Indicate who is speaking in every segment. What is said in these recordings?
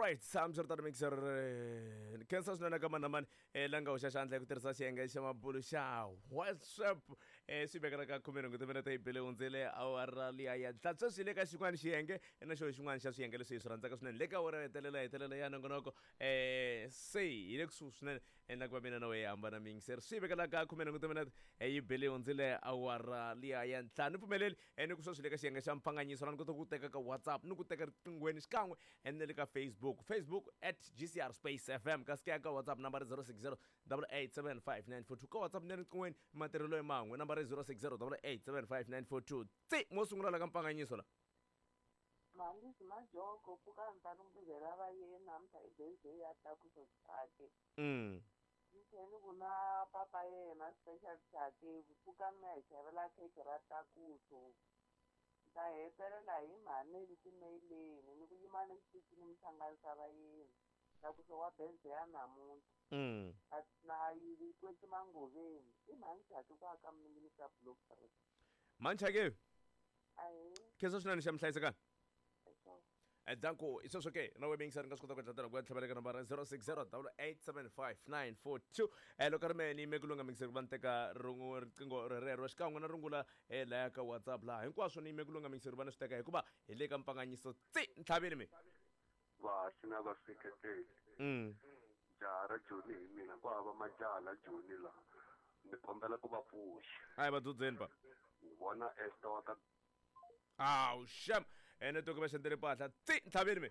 Speaker 1: Alright, hambiswiritano mixer ni khensa swinene ka mani na mani la nga hoxa xandla hi ku tirhisa xiyenge xa mabulo xa WhatsApp. Swi vekela ka khumenhungu timinete yi bile hundzile awara liya ya ntlhanu. Sweswi hi le ka xin'wana xiyenge na xo xin'wana xa swiyenge leswi hi swi rhandzaka swinene le ka awara yo hetelela hetelela ya nongonoko. Se hi le kusuhi swinene na ku va mina na wehe hambana mixer. Swi vekela ka khumenhungu timinete yi bile hundzile awara liya ya ntlhanu. Ni pfumeleli ni ku sweswi le ka xiyenge xa mpfanganyiso la ni kota ku teka ka WhatsApp ni ku teka riqinghweni xikan'we and na le ka Facebook, Facebook at GCR Space FM, kasi ke ka WhatsApp number 060 8875942. Ka WhatsApp ni riqinghweni matirhelo ya man'we number 060 8875942. Tsi mo sungula la ka mpfanganyiso la.
Speaker 2: Mhandisi Majoko pfuka ni ta ni va yena namuntlha i birthday ya Tlakuso Chake. Ni tlhela ni ku na papa yena Special Chake pfuka mi ya hi xavela khekhe ra Tlakuso. Ni ta hetelela hi mhani timeileni ni ku yima ni xitichini mi hlanganisa vayeni. Tlakuso wa birthday ya namuntlha. Na yi kwetsi mangoveni. I mhani Chake ku aka miningini ka block 3.
Speaker 1: Mhani Chake.
Speaker 2: Ahee.
Speaker 1: Khensa swinene xa mhlayisekani.
Speaker 2: Eswo.
Speaker 1: Danko, i sweswo ke na wena yingiseri nga swi kota ku endla ku ya tlhavela ka nambara 060 8875942. Loko ri mehe ni yime ku lunga mingiseri ku va ni teka riqingho rerero xikan'we na rungula laya ka WhatsApp laha hinkwaswo ni yime ku lunga mingiseri ku va ni swi teka hikuva hi le ka mpfanganyiso tsi ntlhaveni mi.
Speaker 3: Vahaxi na vaseketeli. Jaha ra Joni hi mina ku hava majaha la Joni la. Ni kombela ku va pfuxa.
Speaker 1: A hi va dzudzeni pa.
Speaker 3: Ni vona Esther wa ka
Speaker 1: Awu xem. Ene toke va xendele mpahla tsi ntlhaveni mi.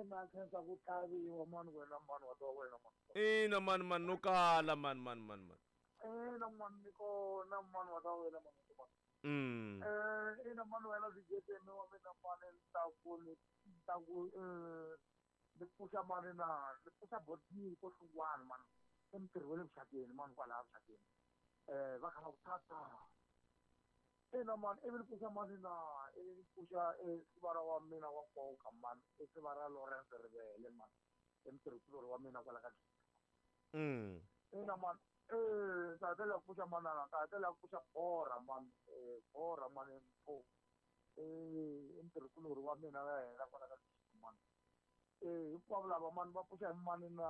Speaker 4: Na khensa ku tlhaviwa mani wena mani wa twa wena mani.
Speaker 1: Ina mani mani no kala mani mani mani mani.
Speaker 4: Ina mani ni kona mani wa twa wena mani wa mani. Ina mani wena VJ mi wa mina mani ni ta ku ni ta ku ni pfuxa mani na ni pfuxa botini ko hlungwana mani. I mutirhi wa le vuxakeni mani kwalaya vuxakeni. Va kha va ku tata. Ina mani ivi ni pfuxa mani na ivi ni pfuxa sivara wa mina wa nkoka mani i sivara Lawrence Rivele mani i mutirhikulori wa mina kwala ka Ina mani ta hetelela ku pfuxa manana ta hetelela ku pfuxa Bora mani Bora mani mfo i mutirhikulori wa mina ya hina kwala ka mani hinkwavo lava mani va pfuxa hi mani na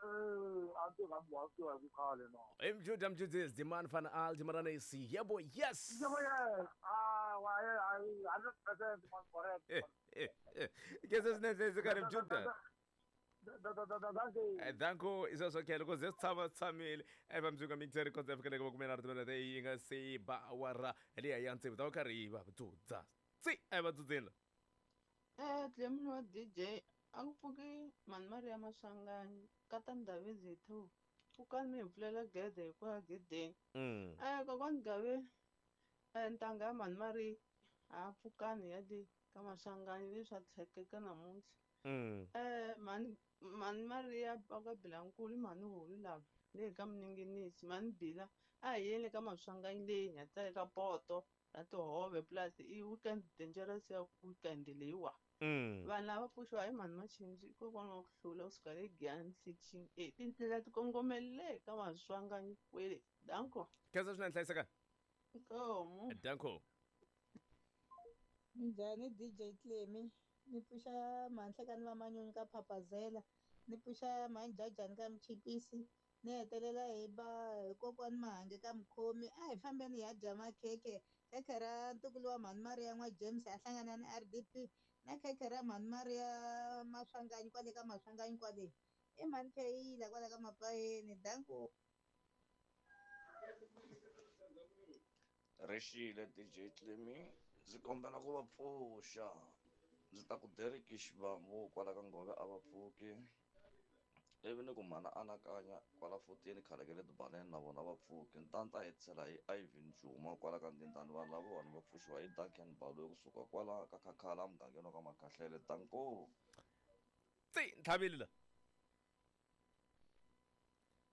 Speaker 4: a ni tirha wa tiva hi ku khale na.
Speaker 1: Mjuda mjudis demand van al dimarana isi yebo yes.
Speaker 4: Yebo yes. Ah wa 100% man correct.
Speaker 1: Ke se swinene se karhi mjuda. Danko i sweswo ke loko ze swi tshama tshamile eva mundzuku mixer records ya fikele ka makume nharhu timinete yi nga se ba awara liya ya tsevu ta va karhi yi va dzudza tsi a va dzudzeni la.
Speaker 5: Clemini wa DJ a ku pfuki mhani Maria Maswanganyi kata Ndhavezitha hi 2 pfukani mi hi pfulela gede hi ku ya gedeni. Kokwani Gabe ntanga ya mhani Maria ha pfukani ya le ka Maswanganyi leswi swa tlhekeka namuntlha. Mhani mhani Maria va ka Bilankulu mhani Hulu lava le ka Mninginisi mhani Bila a hi yeni ka Maswanganyi leyi hi nga teka poto ra tihove plus i weekend dangerous ya weekend leyiwa. Vanhu lava pfuxiwa hi mhani Machinji i kokwana wa ku hlula kusuka le Giyani section A tindlela ti kongomele ka Maswanganyi kwele. Danko.
Speaker 1: Khensa swinene hlayiseka.
Speaker 5: Nkomu.
Speaker 1: Danko.
Speaker 6: Minjhani DJ Clemmy? Ni pfuxa mhanhlekani va manyunyu ka Phapazela, ni pfuxa mhanjajani ka Mchipisi, ni hetelela hi ba hi kokwani Mahange ka Mukhomi. A hi fambeni hi ya dya makhekhe, khekhe ra ntukulu wa mhani Maria n'wa James a hlangana ni RDP na khekhe ra mhani Maria Maswanganyi kwale ka Maswanganyi kwale. I mhani Kheyila kwale ka Mapayeni. Danko.
Speaker 7: Rixile DJ Clemmy, ndzi kombela ku va pfuxa. Ndzi ta ku Derek Xivambu kwala ka Ngove a va pfuki. Ivi ni ku mhana anakanya kwala 14 khale ka le tibaleni na vona va pfuki. Ni ta ni ta hetisela hi Ivan Juma kwala ka Ndindani vanhu lavawani va pfuxiwa hi Duncan Baloyi kusuka kwala ka Khakhala mugangeni wa ka Makhahlele. Danko.
Speaker 1: Tsi ntlhavile la.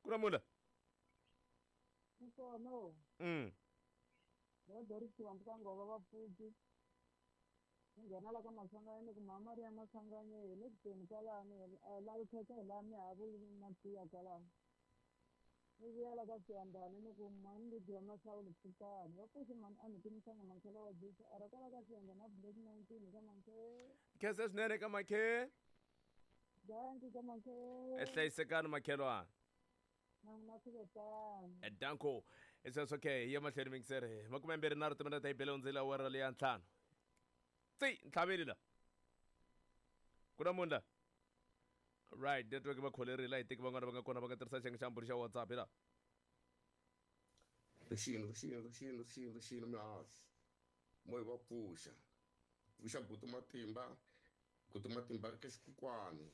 Speaker 1: Ku na mula.
Speaker 8: Nkono. Va Derek Xivambu ka Ngove va pfuki. Ni nghena la ka Maswanganyi ni ku mhani Maria Maswanganyi hi le kuteni kwalano lavi khekhe hi laha mi ha vuli na tiya kwalano. Ni vuya la ka Siyandhani ni ku mhani Lydia Mahlawuli pfukani. Va pfuxi mhani a ni timisanga mankhela wa Jesu ara kwala ka Siyandhani a Black 19 ka mankhela.
Speaker 1: Khensa swinene ka makhe.
Speaker 8: Danki ka makhe.
Speaker 1: Hlayisekani makhelwana.
Speaker 8: Na n'wina swi ve tano.
Speaker 1: Danko. Sweswo ke hi ya mahlweni mingiseri. 23 timinete hi bele hundzile awara leya ntlhanu. Tsi ntlhaveli la. Ku na munhu la. Right, network va kholerile a hi teki van'wana va nga kona va nga tirhisa xiyenge xa mbhuri xa WhatsApp hi la.
Speaker 9: Rixini, rixini, rixini, rixini, rixini mihashu. Moya va pfuxa. Pfuxa buti Matimba, buti Matimba ka xikukwani.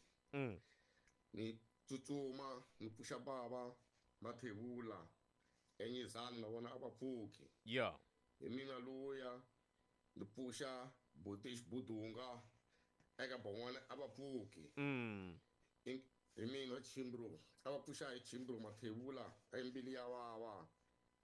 Speaker 9: Ni tsutsuma ni pfuxa bava Mathebula enyizani na vona a va pfuki. Hi mina luya ni pfuxa buti Xibudunga eka van'wana a va pfuki. Hi mina Chimbru a va pfuxa hi Chimbru Mathebula embili ya vava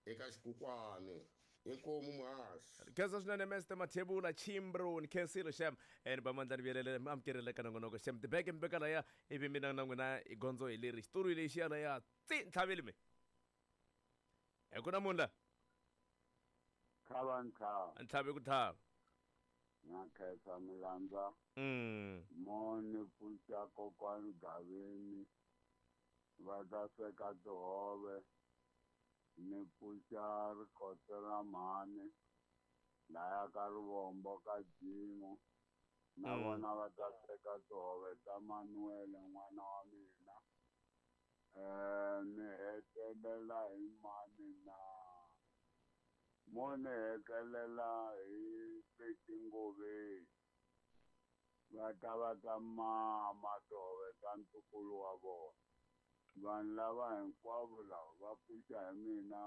Speaker 9: eka xikukwani. Inkomu muhaxi.
Speaker 1: Khensa swinene Mr Mathebula Chimbru ni khensile xem ni ba mandla ni vuyelele mi amukerile ka nongonoko xem tibeke mi veka laya ivi mina na n'wina hi gondzo hi leri xitori lexi ya laya tsi ntlhaveli mi hi ku na munhu la
Speaker 10: Tlhava ntlhava.
Speaker 1: Ntlhavi ku tlhava.
Speaker 10: Na khensa milandza. Mo ni pfuxa kokwani Gaveni va ta sweka tihove. Ni pfuxa rikotse ra mhani laya ka Rivombo ka Jimu. Na vona va ta sweka tihove ta Manuel n'wana wa mina. Ni hetelela hi mani na mo ni hetelela hi Peti Ngoveni. Va ta va ta mama tihove ta ntukulu wa vona. Vanhu lava hinkwavo lava va pfuxa hi mina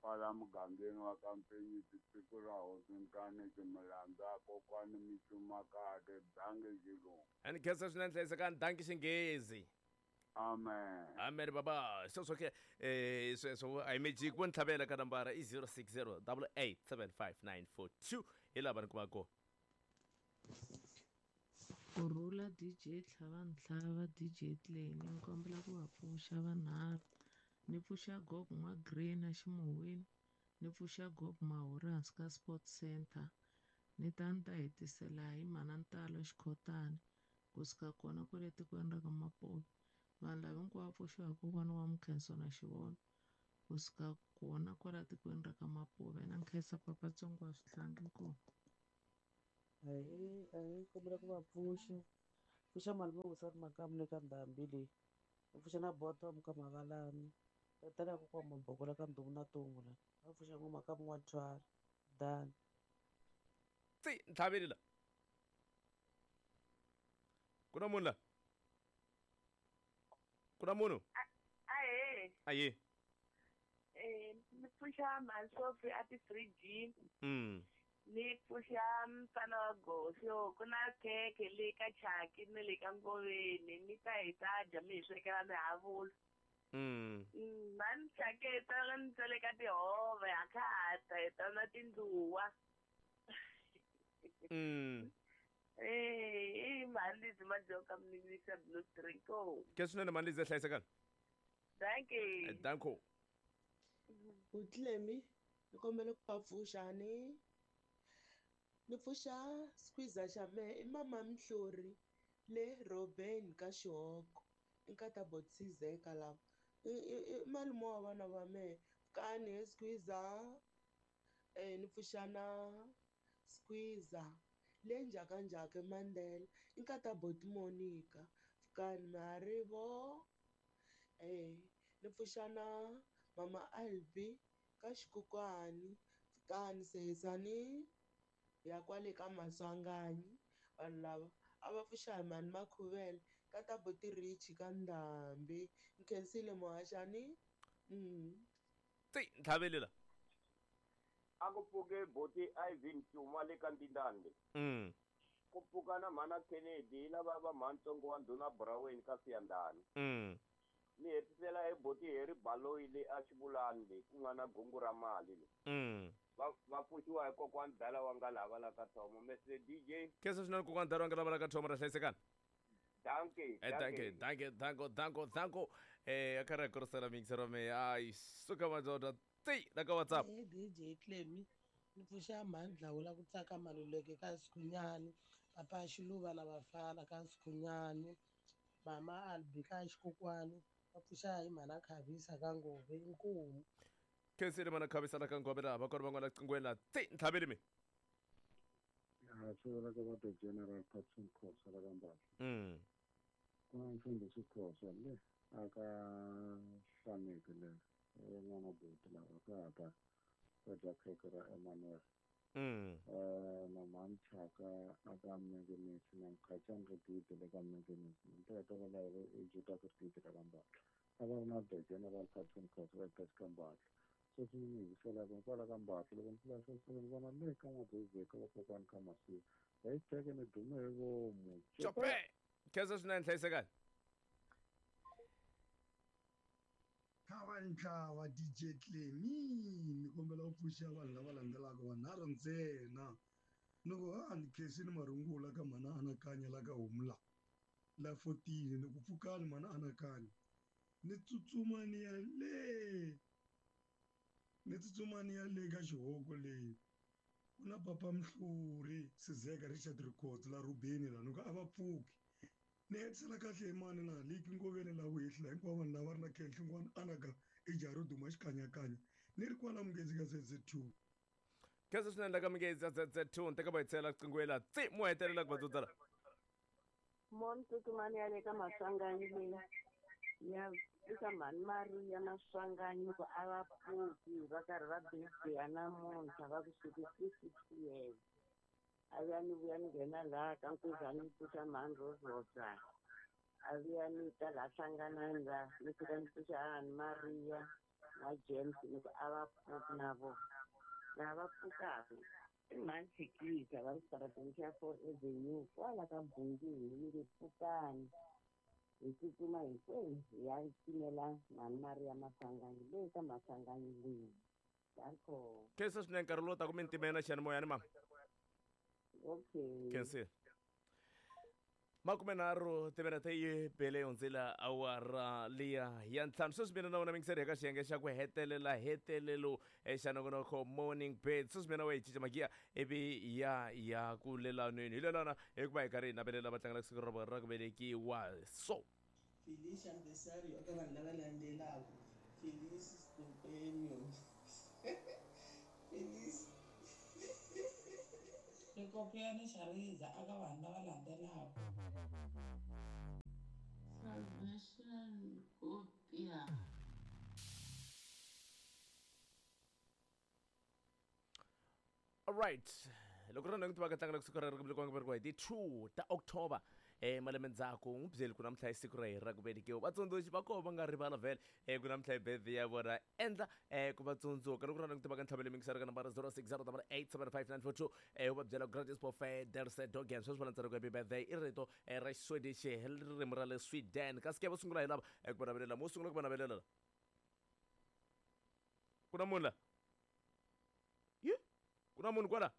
Speaker 10: kwala mugangeni wa ka Mpenyisi siku ra hosi Nkaneti Milandza kokwani mi cuma kahle dangi xilungu.
Speaker 1: Ni khensa swinene hlayisekani dangi xinghezi.
Speaker 10: Amen.
Speaker 1: Amen baba. Sweswo ke sweswo a hi magic vo ni tlhavela ka nambara i 060 8875942 hi laha va ni kumaka kona.
Speaker 5: Kurhula DJ Tlhava Ntlhava DJ Tleni ni kombela ku va pfuxa vanharhu ni pfuxa Gogo N'wa-Green eximuhwini ni pfuxa Gogo Mahuri hansi ka Sports Center ni ta ni ta hetisela hi Mhana Ntalo Xikhotani kusuka kona kwale tikweni ra ka Mapuve vanhu lava hinkwavo pfuxiwa hi kokwana wa Mukhenso na Xivono kusuka kona kwala tikweni ra ka Mapuve na nkhensa papatsongo wa swihlangi inkomu.
Speaker 11: Ahee, kombela ku va pfuxa. Pfuxa malume Vusani Makamu le ka ndhambi leyi. Ni pfuxa na Bottom ka Mavalani. Tatana kokwa Maboko la ka Ndumu na Tungu la. Va pfuxa n'wa Makamu N'wathwala. Dani.
Speaker 1: Tsi, ntlhaveli la. Ku na munhu la? Ku na munhu?
Speaker 2: Ahee.
Speaker 1: Ahee.
Speaker 2: Ni pfuxa Mhani a ti-fridge. Ni pfuxa mfana wa goxo ku na khekhe le ka Chaki ni le ka Ngoveni mi ta hi ta dya mi hi swekela mihavula. Mhani Chaki hi ta ni tseleka tihove ha khata hi ta na tindluwa. Mhani Lizzy Madjoka mi Blue Drink.
Speaker 1: Ke swinene Mhani Lizzy hlayisekani.
Speaker 2: Dankie.
Speaker 1: Danko.
Speaker 12: Utlemi ni kombela ku va pfuxa ni ni pfuxa squeezer xa mehe i mama Mhlori le Robben ka Xihoko i nkata Botsizeka lava i malume wa vana va mehe kani he squeezer ni pfuxa na squeezer le njhakanjhaka Mandela i nkata Boti Monica kani Marivo ni pfuxa na mama Albi ka Xikukwani kani Sehesani ya kwale ka Maswanganyi vanhu lava a va pfuxa hi mhani Makhuvele ka ta Boti Rich ka Ndhambi nkhensile muhaxani.
Speaker 1: Tsi ntlhaveli la.
Speaker 13: A ku pfuke Boti Ivan Cuma le ka Ndindande. Ku pfuka na mhana Kennedy lava va mhantsongo wa ndhuna Buraweni ka Siyandhani. Ni hetisela hi Boti Harry Baloyi le a Xivulani le ku nga na gungu ra mali le. Va pfuxiwa hi kokwani Dala wa nga lava la ka Thomo. Mr DJ.
Speaker 1: Khensa swinene kokwani Dala wa nga lava la ka Thomo ra hlayisekani.
Speaker 13: Dankie,
Speaker 1: Dankie, dankie, danko, danko, danko. A karhi a kurisela mixer wa mehe. Ai, suka madoda. Tsi, la ka WhatsApp.
Speaker 12: DJ Clemi, ni pfuxa mhani Dlawula ku tsaka Maluleke ka Xikhunyani.
Speaker 14: Papa Xiluva na vafana ka Sikhunyani, mama Albi ka Xikokwani, va pfuxa hi mhana Khavisa ka Ngove. Inkomu.
Speaker 1: Khensile mana Khavisa la ka Ngove laha va kona van'wana qingweni la tsi ntlhaveli mi.
Speaker 15: Ya swi vula ka va the General Patson Khosa la ka Mbatla. Ku na mfundhisi Khosa le a ka Hlaneki le n'wana buti lava ka ha ta va dya khekhe ra Emmanuel. Na mhani Chaka a ka Mengenisi na Mkhacani Rigidi le ka Mengenisi. Ni ta hetelela hi Juda Rigidi la ka Mbatla. A va ri na the General Patson Khosa va ka Mbatla. Sweswi ni yingiselaka kwala ka Mbatla loko ni pfula sweswi ni vona le ka N'wadozi ka vakokwani ka Masiku. Hi teke ni dume hi vomu.
Speaker 1: Chope! Khensa swinene hlayisekani.
Speaker 16: Kha ntlawa DJ Clemi ni kombela u pfuxa vanhu lava landzelaka vanharhu ntsena. Ni ku a ni khensini marungula ka mhana anakanya la ka Humla la 14 ni ku pfukani mhana anakanya ni tsutsuma ni ya le ni tsutsuma ni ya le ka xihoko leyi ku na papa Mhluri Sizeka Richard Records la Rubeni la ni ku a va pfuki. Ni hetisela kahle hi mani laha liki ngoveni la vuhehli la hinkwavo vanhu lava ri na khenhlingwana anaka i jaha ro duma xikanyakanya ni ri kwala Mungezi ka ZZ2.
Speaker 1: Khensa swinene la ka Mungezi ZZ2 ni teka va hetisela qingweni la tsi mo hetelela ku va dzudzala.
Speaker 2: Mo tsutsumani ya le ka Maswanganyi leyi ya eka mhani Maria Maswanganyi ku a va pfuki va karhi va birthday namuntlha va ku 66 years. A vuya ni vuya ni nghena laha ka Nkuzani ni pfuxa mhani Rozota. A vuya ni ta laha Hlanganani la ni fika ni pfuxa hahani Maria na James ni ku a va pfuki na vona. Laha va pfukaka i mhani Chikisa va ri xitarateni xa 4 Avenue kwala ka Bungini ni nge pfukani. Hi tsutsuma hinkwenu hi ya cinela mhani Maria Maswanganyi leyi ka Maswanganyi leyi. Danko.
Speaker 1: Khensa swinene nkarhi lowu taka mi ni timela xiyanimoyani mama.
Speaker 2: Okay.
Speaker 1: Khensa. 30 timinete yi bele hundzela awara liya ya 5. Sweswi mina na wena mingiseri eka xiyenge xa ku hetelela hetelelo xa nongonoko Morning Bed. Sweswi mina wa hi cinca magiya ivi ya ku lelanweni hi lelana hikuva hi karhi hi navelela va tlangela siku ra vona ra ku velekiwa. So
Speaker 17: Felice anniversario eka vanhu lava landzelaka. Felice Stupenio. Felice.
Speaker 18: Xikopiyani xa riza aka vanhu lava landzelaka.
Speaker 5: Salvation Kopia.
Speaker 1: All right. Loko ri na ku tiva ka tlangela siku ra ku velekiwa hi ti 2 ta October malembe ndzhaku n'wi byeli ku namuntlha i siku ra hina ra ku velekiwa. Vatsundzuxi va koho va nga rivala vhele ku namuntlha i birthday ya vona endla ku va tsundzuka. Loko ri na ku tiva ka ntlhavelo mingisero ka nambara 0608875942 u va byela gratis buffet derse dogen sweswi va landzela ku happy birthday i rito ra Xiswedish hi ririmi ra le Sweden. Kasi ke vo sungula hi lava ku va navelela mo sungula ku va navelela la ku na munhu la ye ku na munhu kwala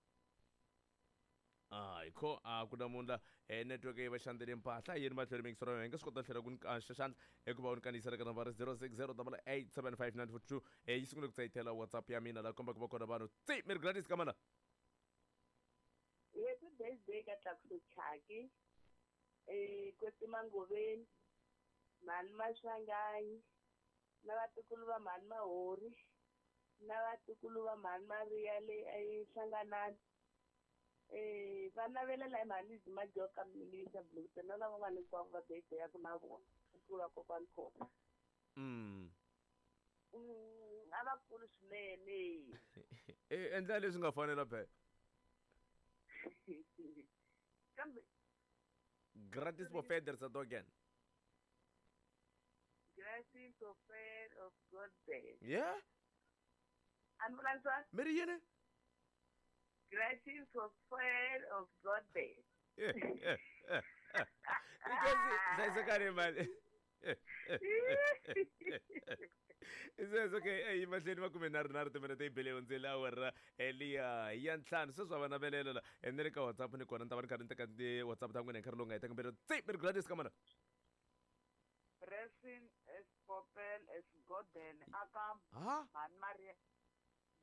Speaker 1: hayi kho a ku na munhu la network yi va xandzele mpahla yini matlhelo mingisero ya nga swi kota tlhela ku ni xandla hikuva u ni kandziyisela ka nambara 0608875942 yi sungule ku tsayitela WhatsApp ya mina la komba ku va kona vanhu tsi mi ri gratis ka mana
Speaker 2: Happy birthday ka Tlakuso Chaki Kwetsima Ngoveni mhani Maswanganyi na vatukulu va mhani Mahori na vatukulu va mhani Maria le Hlanganani. Va navelela hi mhani Majoka Minister Blue na lava van'wana hinkwavo va birthday ya ku na vona ku tlula kokwani Khosa. A va kulu swinene.
Speaker 1: Endla leswi nga fanela phela.
Speaker 2: Kambe
Speaker 1: gratis buffet der Dogen.
Speaker 2: Gratis buffet of God day.
Speaker 1: Yeah.
Speaker 2: Ambulance.
Speaker 1: Meri yini?
Speaker 2: Gratis buffet of God day.
Speaker 1: Because mali. It's okay. Hey, mahlweni va kume nharhu timinete yi bele hundzele awara liya ya 5. Sweswi va navelela la ni le ka WhatsApp ni kona ni ta va ni karhi ni teka ti-WhatsApp ta n'wina hi nkarhi lowu nga heta kambirhi. Tsi mi ri gratis ka mana.
Speaker 19: Dressing as Popel as Golden aka mhani Maria.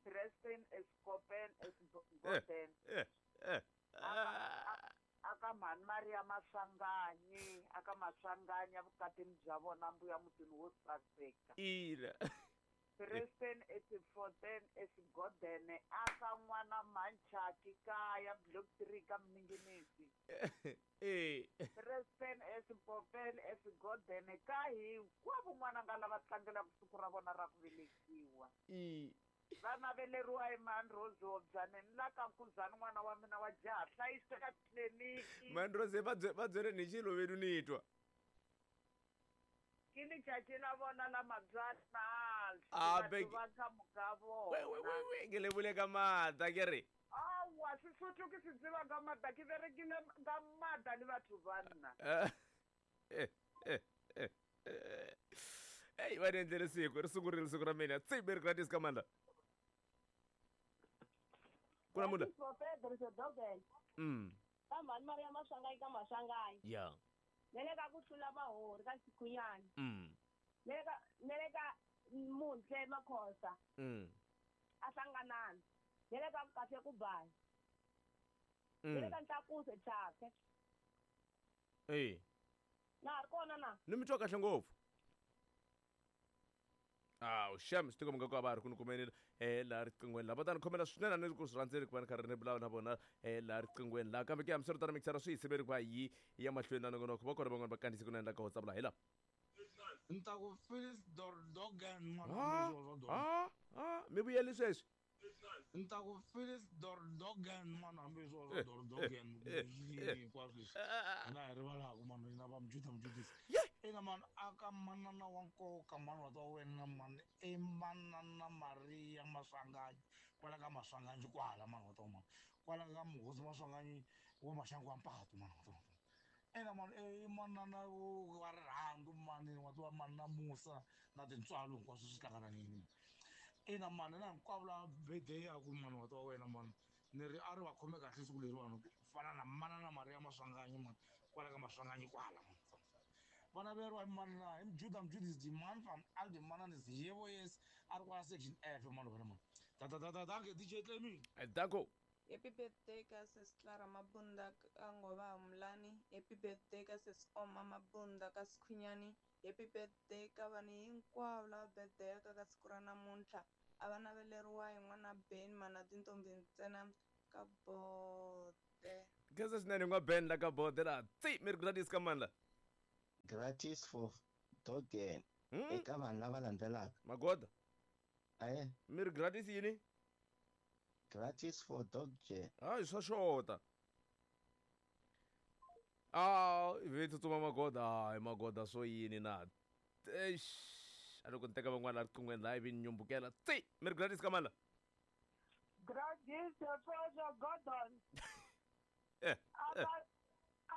Speaker 19: Dressing as Popel as Golden. Aka mhani Maria Maswanganyi aka Maswanganyi evukatini bya vona mbuya mutini wo saseka.
Speaker 1: Ina.
Speaker 19: Preston 8410 eSigodene aka n'wana Manchaki kaya block 3 ka Mninginisi. Preston eSipopel eSigodene ka hinkwavo n'wana nga lava tlangelaka siku ra vona ra ku velekiwa. Va naveleriwa hi mhani Rose Hobzane ni la ka Nkuzani n'wana wa mina wa jaha hlayiseka tliliniki.
Speaker 1: Mhani Rose va byeleni hi xiloveni ni twa.
Speaker 19: Ke letšatši la bona la matswalo batho ba ka moka bona.
Speaker 1: We ke lebole ka maatla ke re.
Speaker 19: Aowa Sesotho ke se tseba ka maatla ke berekile ka maatla le batho ba nna. Ei va ni endlele siku ri sungurile siku ra mina tsi mi ri gratis ka mandla. Ku na munhu
Speaker 20: Ka mhani Maria Maswanganyi ka Maswanganyi.
Speaker 1: Ya.
Speaker 20: Ne le ka ku hlula mahori ka Xikhunyani. Ne le ka Muntle Makhosa. A hlanganani. Ne le ka kahle ku baya. Ne le ka Ntlakuse Chake. Na ri kona na?
Speaker 1: Ni mi twa kahle ngopfu. Awu xem swi tikomba nga ku a va ha ri ku ni kumeni laha riqinghweni laha va ta ni khomela swinene a ni ri ku swi rhandzeni ku va ni karhi ni vulavula na vona laha riqinghweni laha kambe ke hambiswiritano mixara swi hi siveli ku va yi ya mahlweni na nongonoko va kona van'wani va kandziyise ku na endla ka WhatsApp laha hi laha.
Speaker 4: Ni ta ku Phyllis Dordogan
Speaker 1: n'wana mi vuyeli sweswi.
Speaker 4: Ni ta ku Phyllis Dordogan n'wana hambi swo swa Dordogan hinkwaswo leswi hina hi rivalaka mani hina va Mjuda Mjudisi. Ina mani aka manana wa nkoka mani wa ta wena mani i manana Maria Maswanganyi kwala ka Maswanganyi kwala mani wa ta mani kwala ka muhosi Maswanganyi wa maxangu wa mpatu mani wa ta mani. Ina mani i manana wa rirhandzu mani wa ta mani na musa na tintswalo hinkwaswo swi hlangananini. Ina mani na hinkwavo lava birthday ya ku mani wa ta wena mani ni ri a ri va khome kahle siku leriwani ku fana na manana Maria Maswanganyi mani kwala ka Maswanganyi kwala mani. Vana veriwa hi mani na hi Mjuda Mjudisi Demand from Aldi Mananis yebo yes a ri kwala section F mani wena mani. Ta ta ta ta danke DJ Clemi.
Speaker 1: Danko.
Speaker 5: Happy birthday ka Sis Clara Mabunda ka Ngova Mlani. Happy birthday ka Sis Oma Mabunda ka Sikhunyani. Happy birthday ka vanhu hinkwavo lava birthday ka siku ra namuntlha. A va naveleriwa hi n'wana Ben mana tintombi ntsena ka Bode.
Speaker 1: Khensa swinene n'wa Ben la ka Bode la. Tsi mi ri gratis ka mandla.
Speaker 21: Gratis for Dogen. Eka vanhu lava landzelaka.
Speaker 1: Magoda. Mi ri gratis yini?
Speaker 21: Gratis for Dogen.
Speaker 1: Hayi swa xota. Ve tsutsuma Magoda. Hayi Magoda swo yini na. Eish. A loko ni teka van'wana laha riqinghweni laha ivi ni nyumbukela. Tsi mi ri gratis ka mandla.
Speaker 8: Gratis for Gordon.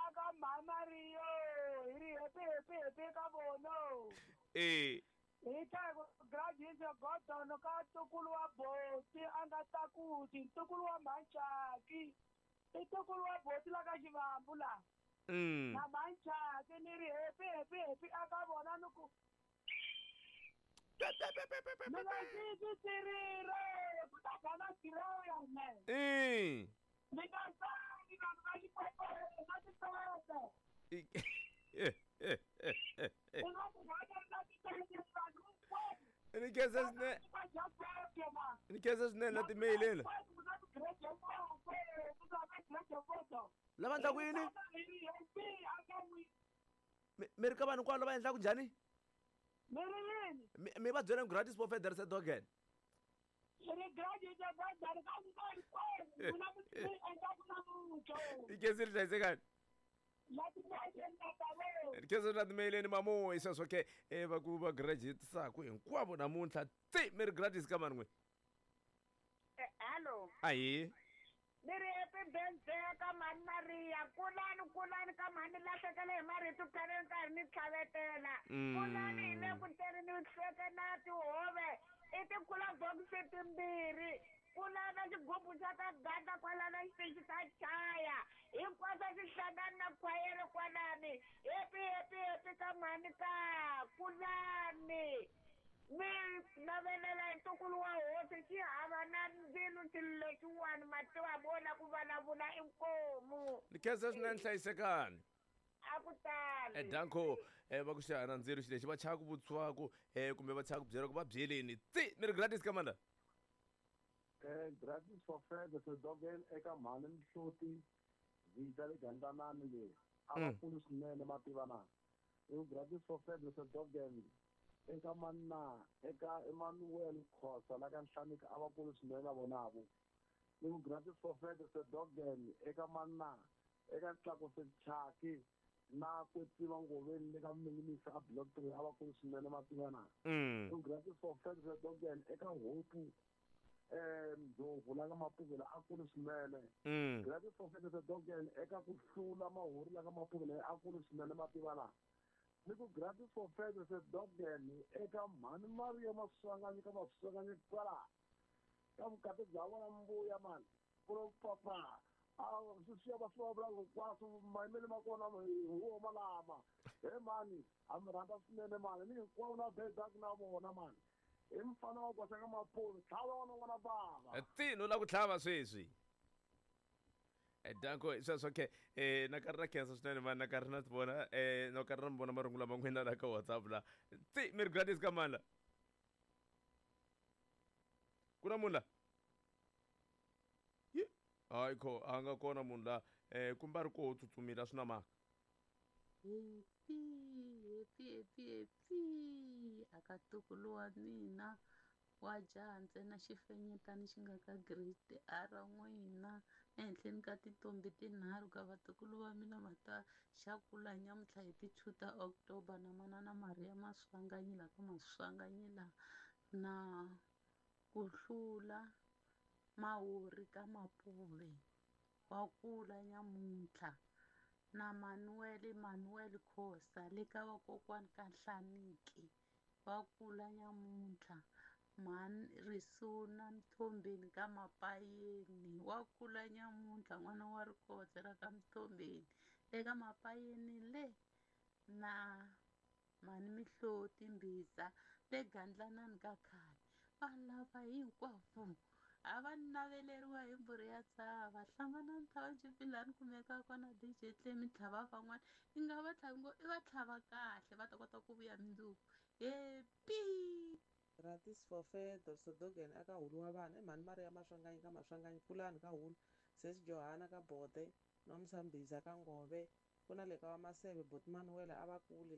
Speaker 8: Aka mama Rio, hi ri happy happy happy ka vona. Hi ta ku gratis Gordon ka ntukulu wa Boti a nga tlakusi ntukulu wa Manchaki. I ntukulu wa Boti la ka Xivambu la. Na Manchaki ni ri happy happy happy aka vona ni ku mina xi tirire ku ta gana tiraya me. Mi nga tsangi vanhu va xikwekwe na titsetse. U nga ku hakela titsetse vanhu hinkwavo.
Speaker 1: Ni khensa swinene. Ni khensa swinene na timeileni. Lava endlaku yini? Mi ri ka vanhu hinkwavo lava endlaku njhani?
Speaker 8: Mi ri yini?
Speaker 1: Mi va byela gratis for Federer Dogen. I khensa ri hlayisekani. Ni khensa na timeileni mamu hi sweswo ke va ku va graduate-saku hinkwavo namuntlha. Tsi mi ri gratis ka mani n'we.
Speaker 19: Hello.
Speaker 1: Ahi.
Speaker 19: Ni ri happy birthday ka mhani Maria. Kulani kulani ka mhani lahlekele hi marito khale ni karhi ni tlhavetela. Kulani hi le ku teni ni hleke na tihove. I tikula bokisi timbirhi. Kulana xigubu xa ka ganda kwalana xitichi xa chaya. Hinkwaswo swi hlangana na khwayere kwalani. Happy happy happy ka mhani ka kulani. Mi navelela hi ntukulu wa hosi xi hava na mbilu xilo lexiwani ma tiva vona ku vulavula inkomu.
Speaker 1: Ni khensa swinene hlayisekani.
Speaker 19: A ku tali.
Speaker 1: Danko va ku xana ndzilo xi lexi va chava ku vutisiwaku kumbe va chava ku byela ku va byeleni tsi mi ri gratis ka mani la?
Speaker 15: Gratis for further sedogel eka mhani Mihloti vita le Gandlanani le a va kulu swinene ma tiva na. I gratis for further sedogel eka manna eka Emmanuel Khosa la ka Nhlanika a va kulu swinene na vona vo. Ni ku gratis for further sedogel eka manna eka Tlakuse Chaki na Kwetsiwa Ngoveni le ka Minginisa a Block 3 a va kulu swinene ma tiva na. Ni ku gratis for further sedogel eka Hope Ndlovu la ka Mapuvela a kulu swinene. Gratis for further sedogel eka ku hlula mahori la ka Mapuvela a kulu swinene ma tiva na. Ni ku gratis for further sedogel eka mhani Maria Maswanganyi ka Maswanganyi kwala ka vukati bya vona mbuya mani ku papa a sweswiya va swi va vula hinkwaswo mayimele ma kona hi wo malama he mani a mi rhandza swinene mani ni hinkwavo na bedak na vona mani i mfana wa koxa ka mapolo tlhava wona n'wana bava
Speaker 1: tsi no la ku tlhava sweswi. Danko sweswo okay na karhi na khensa swinene mani na karhi na ti vona na karhi na mi vona marungulo ma n'wina la ka WhatsApp la tsi mi ri gratis ka mani la ku na munhu la Ye, hayi kho a nga kona munhu la kumbe a ri koho tsutsumile a swi na mhaka.
Speaker 3: Happy happy happy happy aka ntukulu wa mina wa jaha ntsena xifenyetani xi nga ka grade R n'wina ehenhleni ka tintombi tinharhu ka vatukulu va mina mata xa kula nyamuntlha hi ti 2 ta October na manana Maria Maswanganyi la ka Maswanganyi la na ku hlula Mahori ka Mapuve wa kula nyamuntlha na Manuel Manuel Khosa le ka vakokwani ka Nhlaniki va kula nyamuntlha mhani Risuna Mthombeni ka Mapayeni wa kula nyamuntlha n'wana wa Rikotse ra ka Mthombeni eka Mapayeni le na mhani Mihloti Mbhiza le Gandlanani ka khale vanhu lava hinkwavo a va naveleriwa hi mbhuri ya tshava hlangana township laha ni kumekaka kona DJ Tlemi tlhava van'wana i nga va tlhavi ngo i va tlhava kahle va ta kota ku vuya mundzuku happy.
Speaker 11: Gratis for Fedor Sodogan aka hulu wa vana i mhani Maria Maswanganyi ka Maswanganyi Pulani ka hulu Sesi Johana ka Bode Nomsa Mbiza ka Ngove ku na le ka wa Maseve Boti Manuel a va kuli.